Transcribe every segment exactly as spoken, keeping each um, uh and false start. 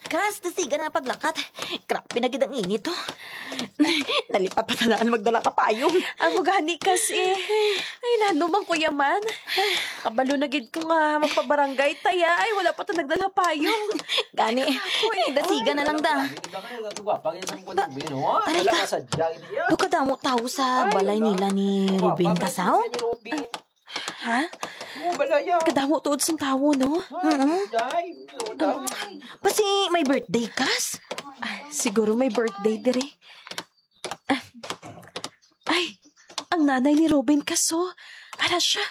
Kas, dasiga na paglakat. Grabe na gid ang init, oh. Nalipat pa tanan magdala ka payong. Amo gani, Kas, eh. Ay, nano man ko yaman. Kabalo na gid ko nga magpabarangay ta ya. Ay, wala pa ta nagdala payong. Gani. Ay, dasiga na lang da. Aray ka. Daw kadamo tawo sa balay nila ni Ruben Kasaw? Ha? Kadamo tuod sang tawo, no? Mm. Basi may birthday, Kas? Ah, siguro may birthday diri. Ah. Ay, ang nanay ni Ruben Kasaw. Ara siya.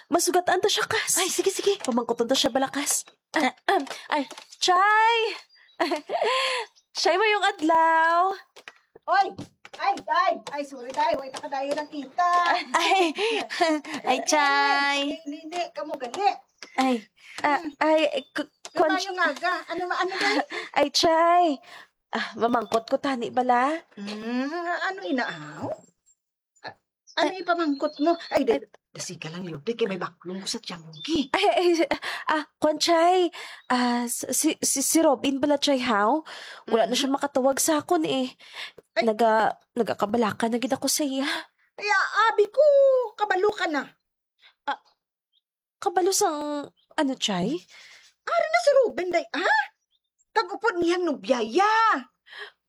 Masugatan ta siya, Kas. Ay, sige, sige. Pamangkuton ta siya bala, Kas. Ah, ah, ay, Chay! Chay, mayong adlaw. Oy! Ay, ay, ay, sorry, day. Way ta kadayon ang kita. Ay, ay, Chay. Nini, kamo gali. Ay, ah, ay, k-, kon- Maayong aga. Ano, ano, day? Ay, Chay. Ah, mamangkot ko tani bala. Hmm, ano, inaaw? Ah, ano ipamangkot mo? Ay, da-, dasiga lang, Lourdes, kay may baklong ko sa tiyanggi. Ay, ay, ah, kwan, Chay. Ah, s-, si, si, si Robin bala, Chay, haw? Wala na siya makatawag sa akon, eh. Ay. Naga-, nagakabalaka na gid ako sa iya. Ay, ah, abi ko, kabalo ka na. Ah, kabalo sang ano, Chay? Ari na si Ruben, day, ah? Kag upod niyang nobya ya.